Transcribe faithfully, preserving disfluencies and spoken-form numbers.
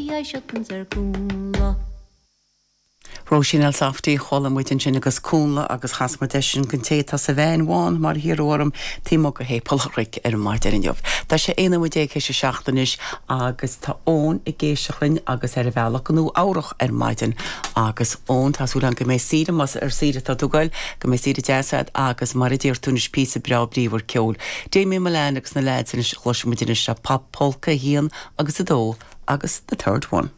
I ar Cúnla. Róisín Elsafty chuala muid ansin agus Cúnla agus chas muid eisean gon té tá sa veain bhán mar hiarraidh orm taobh amuigh de Shéipéal an Chnoic ar an maidin inniu. Tá sé aon nóiméad déag théis a seacht anois agus tá Eoin ag éisteacht linn agus ar a bhealach go Nua Eabhrac ar maidin agus Eoin tá súil agam go mbeidh saoire más ar saoire atá tú ag goil go mbeidh saoire deas agat agus mar a deir tú anois píosa breá bríomhar ceoil. Damien Mullane agus na lads anois chloisfidh muid anois Pop Polka a haon agus a dó agus the third one.